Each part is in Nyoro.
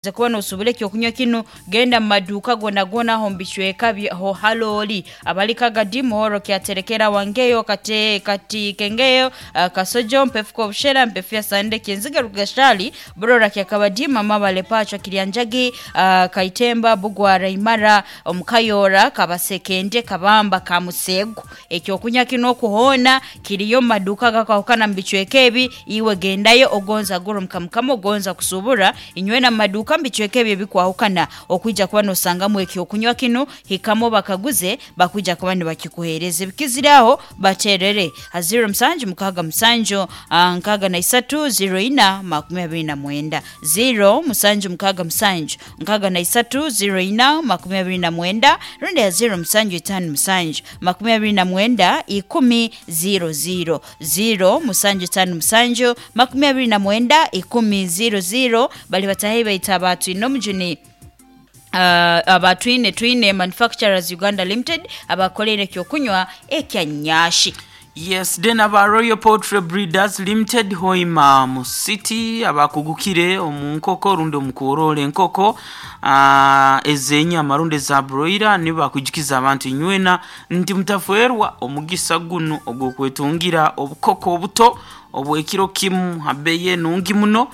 Kuba nosubura ekyokunywa kinu, genda mu maduuka gona gona aho mubicweka ho halooli abali Kagadi, Muhoro, Kyaterekera, Wangeyo, Kate, Kati Kengeyo, Kasojo, Mpefu Kobushera, Mpefu ya Sande, Kinziga, Rugashali, Burora, Kyakabadi, Mama Pachwa, Kiryanjagi, Kaitemba, Bugwara, Imara, Omukayora, Kabasekende, Kabamba, Kamusegu. Ekyokunywa kinu okuhoona kiriyo mu maduuka gakwahukana mu bicweka ebi. Iwe gendayo ogonza gura omukamukama ogonza kusubura inywena mu maduuka mu bicweka ebi ebikwahukana okwija kuba nosangamu ekyokunywa kinu. Hikamu bakaguze, bakwija kuba nibakikuheereza. Ebikizire aho baterere ha 0 musanju mukaaga musanju, 63 04 29, 0 musanju mukaaga musanju 63 04 29, rundi ya 0 musanju itaano musanju 29 10 00, 0 musanju itaano musanju 29 10 00. Bali batahi baita abatwine omujuni, abatwine Twine Manufacturers Uganda Limited, abakoleire ekyokunywa ekya Nyashi. Yes, then aba Royal Poultry Breeders Limited, Hoima mu City, abakugukire omu nkoko rundi omu kworora enkoko ez'enyama rundi eza broiler, nibo bakujukiza abantu inywena nti mutafwerwa omugisa gunu ogw'okwetungira obukoko obuto obw'ekiro kimu ha bbeeyi enungi muno,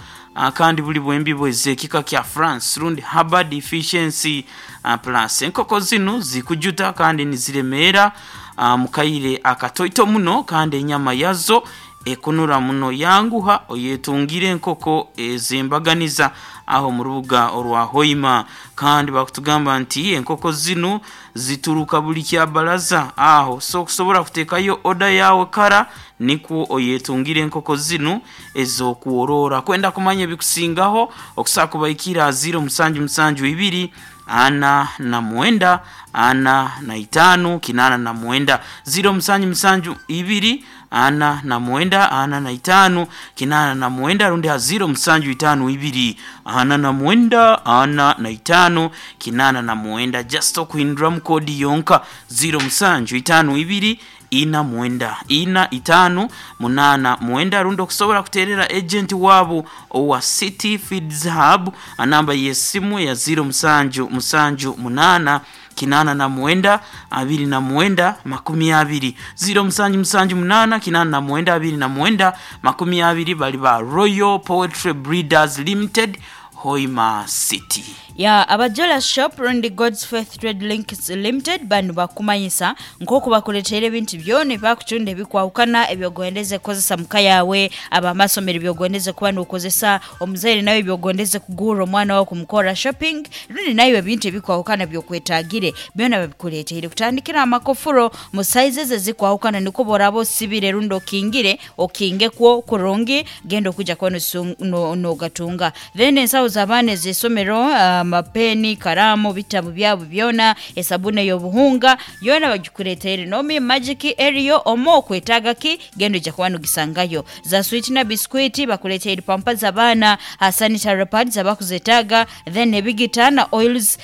kandi buli bwembibo ez'ekika kya France rundi Harvard Efficiency Plus. Enkoko zinu zikujuta kandi niziremeera mu kaire akatoito muno, kandi enyama yazo ekunura muno. Yanguha oyetungire enkoko ez'embaganiza aho mu rubuga orwa Hoima. Kandi bakutugamba nti enkoko zinu zituruka buli kyabaraza aho, so okusobora kuteekayo oda yawe kara nikwo oyetungire enkoko zinu ez'okworora. Kwenda kumanya ebikusingaho, okusobola kubaikira ha 0 musanju musanju ibiri 49 45 89, 0 musanju musanju ibiri 49 45 89, rundi ha 0 musanju itaano ibiri 49 45 89. Just okuhinduramu koodi yonka, 0 musanju itaano ibiri 49 45 89, rundi okusobola kuteerera agent waabo owa City Feeds Hub anamba y'esimu ya 0 musanju musanju munaana 89 29 20, 0 musanju musanju munaana 89 29 20. Bali ba Royal Poetry Breeders Limited, Hoima City. Ya abajola Shop rundi God's Faith Trade Links Limited banu bakumanyisa nk'oku bakuleteire ebintu byona ebakutunda ebikwahukana ebyogondeze kukozesa muka yawe, abamasomero ebyogondeze kuba nokozesa, omuzaire nawe ebyogondeze kugurra omwana wawe kumukora shopping, rundi naiwe ebintu ebikwahukana byokwetagire byona babikuleteire, kutandikira amakofuro mu sizes ezikwahukana, nikwo boraba osibire rundi okingire okingekwo kurungi, genda okuja kuba nogatunga. Then ensaho z'abaana ez'isomero, amapeni, karamu, bitabu byabo byona, esabuni ey'obuhunga yoona bagikuleteire. Nomi Magic eriyo omo okwetaaga ki, genda ojja kuba nogisangayo. Za switi na biskwiti bakuleteire, pampa z'abaana, sanitary pads abakuzetaaga, then ebigita na oils,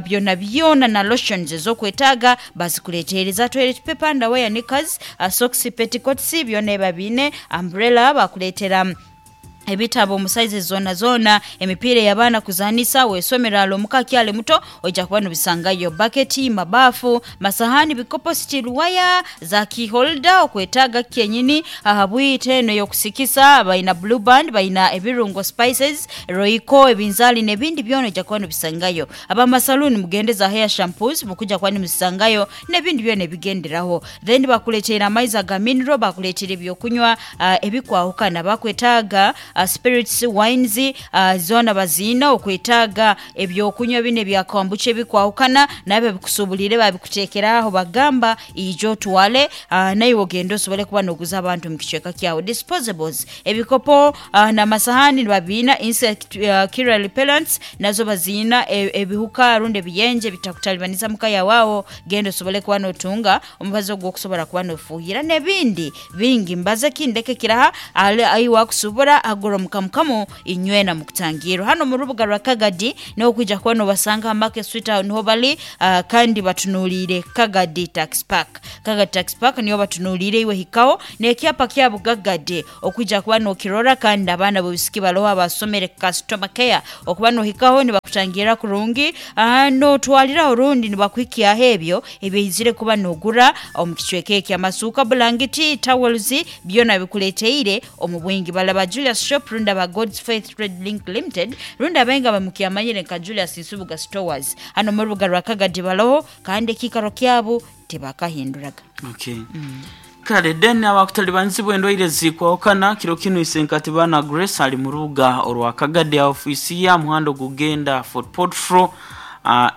byona byona na lotions ez'okwetaaga bazikuleteire. Za toilet paper, underwear, knickers, socks, petticoats byona ebi babiine, umbrella bakuleetera, ebitabo mu sizes zoona zoona, emipiira ey'abaana kuzaanisa, wesomero ale omuka akyali muto oija kuba nobisangayo, baketi, mabafu, masahani, bikopo, steel wire, za key holder okwetaaga kyenyini aha bwite eno ey'okusikisa, baina Blue Band, baina ebirungo spices, Royco, ebinzaali n'ebindi byona oija kuba nobisangayo. Abamasaluuni mugende za hair shampoos mukuja kuba nimuzisangayo n'ebindi byona ebigenderaho. Then bakuleteire amaizi aga mineral, bakuleteire ebyokunywa ebikwahukana, bakwetaaga spirits, wines, zoona baziina, okwetaaga ebyokunywa binu ebya kombucha ebikwahukana nabyo babikusubuliire babikuteekera aho, bagamba ija otwale, naiwe ogende osobole kuba noguza abantu omu kicweka kyawe. Disposables, ebikopo n'amasahani nibabiina, insect killer repellents nazo baziina, ebihuka rundi ebiyenje bitakutalibaniza muka yawe aho, genda osobole kuba notunga omubazi ogw'okusobora kuba nofuuhira n'ebindi bingi. Mbaze ki ndeke kiraha ale ai wakusubura. kugura omukamukamu inywena mukutangirwa hano mu rubuga rwa Kagadi niho kwija kuba nobasanga ha Market Street aho niho bali, kandi batunuliire Kagadi Tax Park. Kagadi Tax Park niho batunuliire, iwe hikaho n'ekyapa kyabo Gagadi okwija kuba nokirora, kandi abaana b'obusiki baloho abasomere customer care okuba nohikaho nibakutangira kurungi, notwaliraho rundi nibakuhikyaho ebyo ebyaizire kuba nogura omu kicweka eki. Amasuuka, bulangiti, towels byona bikuleteire omu bwingi. Balaba Julius Shop rundi aba God's Faith Trade Link Limited rundi abenga bamukyamanyire nka Julius Nsubuga Stores hano mu rubuga rwa Kagadi baloho, kandi ekiikaro kyabo tibakahinduraga. Okay. Kale then abakutalibanizibwa endwaire zikwahukana kiro kinu isenkati bana Grace ali mu rubuga orwa Kagadi ofiisi ya muhanda ogugenda Fort Portal,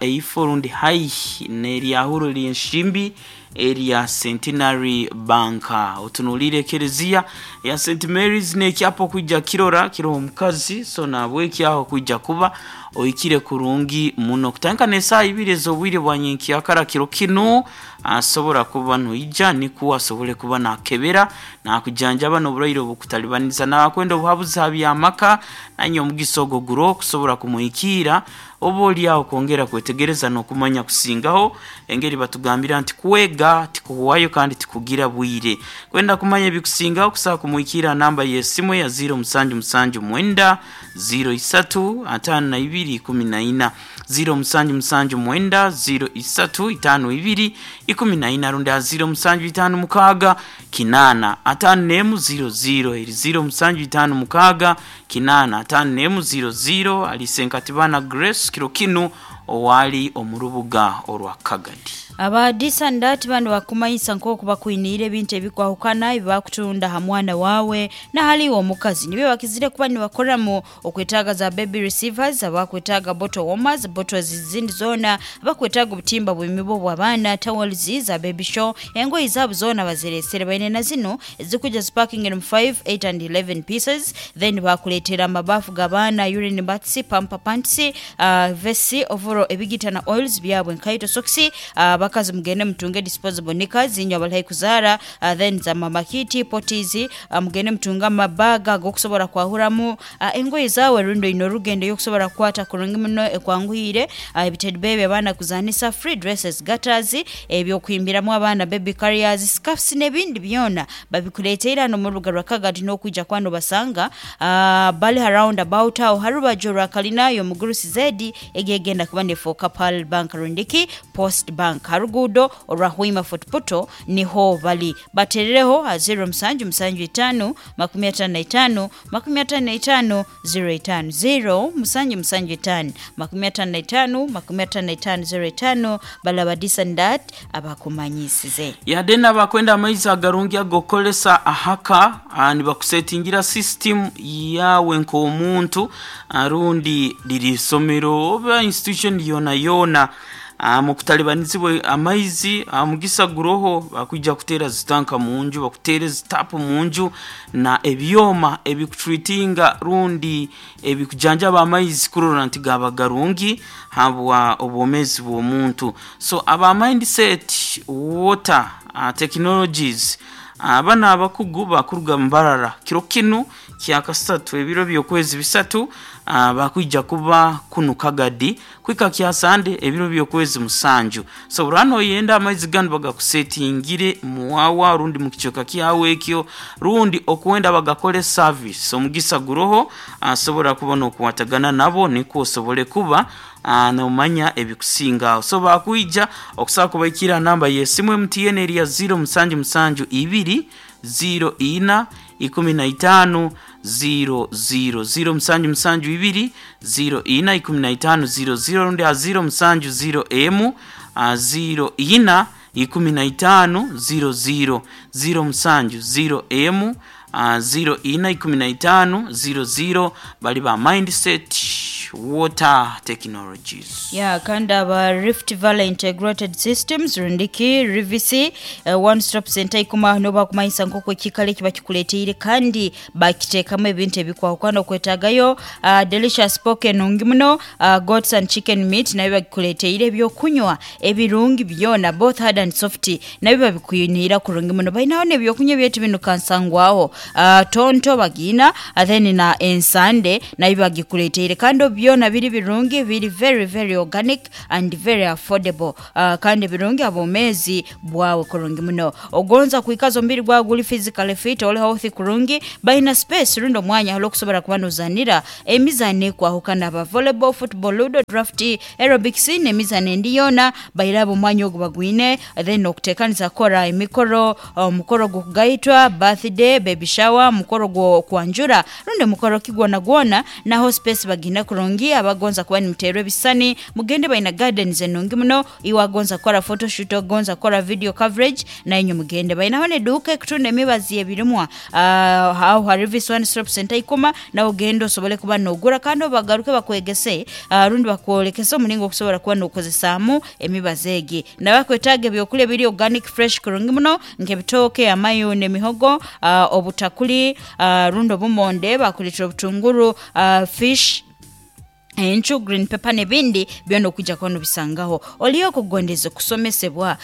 eifo rundi haihi n'eryahuro ly'enshimbi erya Centenary Bank, otunuliire ekereziya ya St Mary's n'ekyapa okwija kirora kiroho omukazi, so nabwekyaho okwija kuba ohikire kurungi muno kutandika n'esaaha ibiri ez'obwire bwa nyenkyakara. Kiro kinu asobora kuba noija nikwo asobole kuba nakebera nakujanjaba n'oburwaire obukutalibaniza, nakwenda obuhabuzi ha by'amaka nanye omugisa ogwo guro kusobora kumuhikiira oba oli aho kwongera kwetegereza n'okumanya kusingaho. Engeri batugambira nti kwega tikuhwayo kandi tikugira bwire. Kwenda kumanya ebikusingaho kusobola kumuhikiira namba y'esimu ya 0779 03 52 14, 0779 03 52 14, rundi ha 0756 8 51 00, eri 0756 8 51 00. Ali Senkatibana Grace kiro kinu owali omu rubuga orwa Kagadi. Aba Disandati bano bakumanyisa nk'oku bakwiniire ebintu ebikwahukana ebibakutunda ha mwana wawe nahaliwe omukazi, nibyo bakizire kuba nibakoramu okwetaaga za baby receivers, abakwetaaga bottle warmers, bottles zindi zoona, abakwetaaga obutimba bw'emibu bw'abaana, towels za baby show, engoyi zaabo zoona bazireesere. Baine na zinu ezikuja ziparking in 5, 8 and 11 pieces. Then bakuleetera amabafu g'abaana, urine bats, pamper pants, vesi, overall ebigita na oils byabwe, nkaito, socks. Abakazi mugende mutunge disposable knickers inywe abali haihi kuzaara, then za mama kit potties, mugende mutunge amabaga ag'okusobora kwahuramu engoye zaawe rundi oine orugendo y'okusobora kukwata kurungi muno ekwanguhiire, ebitedi baby abaana kuzanisa, free dresses, gutters, ebyokuhimbiramu abaana, baby carriers, scarfs n'ebindi byona babikuleteire hano mu rubuga rwa Kagadi n'okwija kuba nobasanga, bali ha round about aho ha rubaju rwa kalina y'omugurusi zedi egegenda kuba nefuuka Pearl Bank rundiki Post Bank ha ruguudo orwa Hoima Fort Portal niho bali. Baterereho ha 0775 55 55 05, 0775 55 55 05. Balaba Disandat abakumanyisize. Yadde n'abakwenda amaizi agarungi agokukolesa ahaka, nibakusetingira system yawe nk'omuntu, rundi liri isomero oba institution yona yona, mukutalibanizibwe amaizi, mugisa guroho bakwija kuteera zitanka munju, bakuteera zitapu munju na ebyoma ebikutreatinga rundi ebikujanjaba amaizi kurora nti gaba garungi habwa obwomezi bw'omuntu. So aba Mindset Water Technologies aba abakugu bakuruga Mbarara kiro kinu kyakasatu ebiro by'okwezi bisatu, bakwija kuba kunu Kagadi kwika kyasande ebiro by'okwezi musanju. So burano oyenda amaizi ganu bagakusetingire muwawa rundi mukicweka kyawe ekyo rundi okwenda bagakole service, omugisa guroho asobora kuba nokukwatagana nabo nikwo osobole kuba nomanya ebikusingaho. So bakwija okusobola kubaikira namba y'esimu MTN eri ya 0772 04 15 00, 0772 04 15 00, rundi ha 070 m 04 15 00, 070 m 04 15 00. Bali ba Mindset Water Technologies. Ya, kandi aba Rift Valley Integrated Systems rundiki Rivisi, one stop center ikuma nobakumanyisa nk'oku ekikalo eki bakikuleteire kandi bakiteekamu ebintu ebikwahukana okwetagayo, delicious pork enungi muno, goats and chicken meat nabyo bakikuleteire, ebyokunywa ebirungi byona both hard and soft nabyo babikwiniira kurungi muno. Bainaho n'ebyokunywa ebyaitu binu kansangwaho. Tonto bagiina, then na ensande nayo bagikuleteire, kandi byona biri birungi, biri very very organic and very affordable, kandi birungi abomezi bwawe kurungi muno. Ogonza kwikaza omubiri gwawe guli physically fit, oli healthy kurungi, baina space rundi omwanya hali okusobora kuba nozanira emizano ekwahukana, aba volleyball, football, ludo, draft, aerobics n'emizano endi yoona bairaba omwanya ogu bagwine. Then okuteekaniza kukora emikoro, omukoro gw'okugaitwa, birthday, baby shower, mukoro gw'okwanjura rundi mukoro ki gwona gwona, naho space bagina kurungi. Abagonza kuba nimuteerwa ebisani mugende, baina gardens enungi muno. Iwe agonza kukora photoshoot, ogonza kukora video coverage, nainywe mugende. Bainaho n'eduuka ekutunda emibazi y'ebirimwa, aho hari Vis One Stop Center Ikoma, nawe ogende osobole kuba nogura kandi obagaruke bakwegese, rundi bakwolekese omulingo okusobora kuba nokozesaamu emibazi egi. Nabakwetaaga ebyokulya ebiri organic fresh kurungi muno nk'ebitooke, amayuni, emihogo, obutakuli, rundi obumonde, bakuleetera obutunguru, fish, encu, green pepper n'ebindi byona okwija kuba nobisangaho. Oliyo okugondeze kusomesebwa,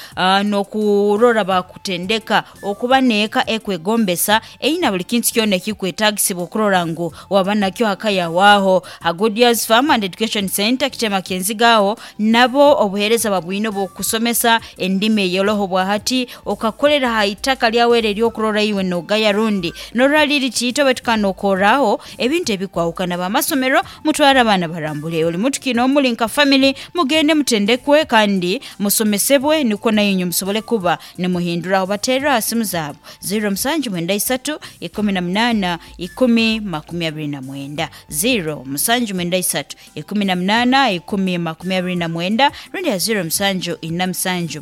n'okurora bakutendeka okuba n'eka ekwegombesa eine buli kintu kyona ekikwetagisibwa okurora ngu waba nakyo haka yawe aho ha Good Years Farm and Education Center Kitema Kyenziga, aho nabo obuheereza babwine obw'okusomesa endimi eyoroho bwahati, okakolera ha itaka lyawe eri ery'okurora iwe nogaya rundi norora liri tiito baitu kandi nokorraho ebintu ebikwahukana. Bamasomero mutware abaana barambule, oli mutuki n'omuli nka family mugende mutendekwe kandi musomesebwe nikwo nainywe musobole kuba nimuhinduraho. Baterre aha simu zaabo 0793 18 10 29, 0793 18 10 29, rundi ya 0747 25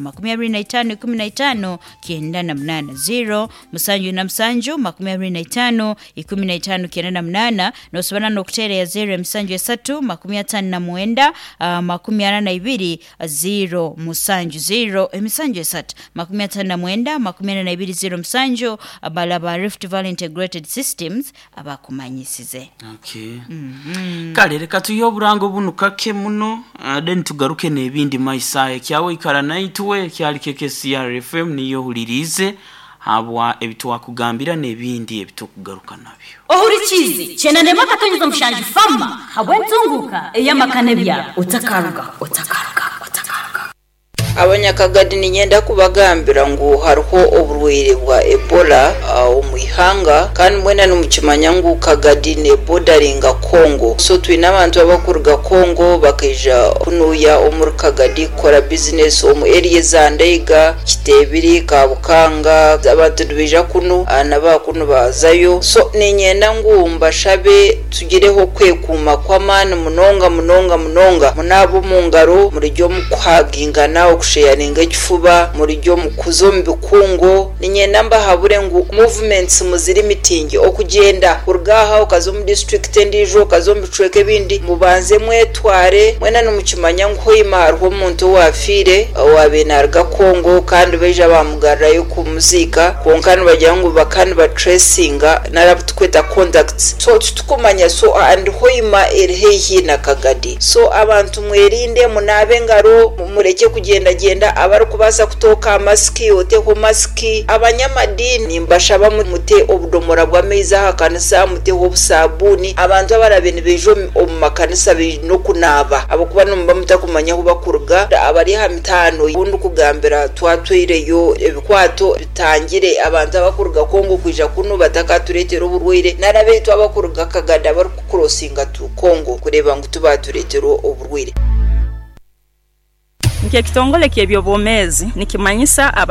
15 98, 0747 25 15 98. Nosobora n'okuteera ya 073 59 42 0 7, 0 emisanju esatu 59 42 0 7. Abalaba Rift Valley Integrated Systems abakumanyisize. Okay. Kale reka tuyihe oburango bunu kake muno, then tugaruke n'ebindi maiso ekyawe. Ikara naitwe, kyali KKCR FM niyo ohuliriize habwa ebitwakugambira n'ebindi ebitukugaruka nabyo. Ohurikiize 91.7 fama habw'entunguka ey'amaka n'ebyaro. Otakaruga, otakaruga, otakaruga. Abanyakagadi niinyenda kubagambira ngu hariho oburwaire bwa Ebola omu ihanga, kandi mwena nimukimanya ngu Kagadi neebodaringa Congo. So twine abantu abakuruga Congo bakaija kunuuya omuri Kagadi kukora bizinesi omu area eza Ndaiga, Kiteebiri, Kabukanga. Abantu nibaija kunu na baakunu baazayo. So niinyenda ngu mbashabe tugireho okwekuuma kw'amaani munonga munonga munonga. Munaabe omu ngaro, murigye omu kuhagingana, okusheyaringa ekifuba, murigye omu kuza omu bikungu. Niinyenda mbahabure ngu movements muzirimitinge, okugyenda kuruga aha okaza omu disiturikiti endiijo, okaza omu bicweka ebindi, mubanze mwetware. Mwena nimukimanya ngu Hoima hariho omuntu owaafiire owaabaire naaruga Congo kandi baija baamugarurayo kumuziika, kwonka nibagira ngu bakaba nibatracinga nari abu turikweta contacts, so titukumanya, so and Hoima eri haihi na Kagadi. So abantu mwerinde, munaabe engaro, murekye kugyendagyenda, abarikubaasa kutooka aha masiki oteho masiki. Abanyamadiini nimbashaba mute obudomora bw'amaizi aha kanisa, muteho obusaabuuni. Abantu abarabe nibaija omu makanisa baine okunaaba ahabw'okuba nimuba mutakumanya ahu bakuruga. Abari aha mitaano obu ndikugambira twatwaireyo ebikwato bitangire abantu abakuruga Congo kwija kunu batakatureetera oburwaire, nari abaitu abakuruga Kagadi abarikukurosinga to Congo kureeba ngu tibaatureetera oburwaire. Nk'ekitongole ky'eby'obwomeezi nikimanyisa aba.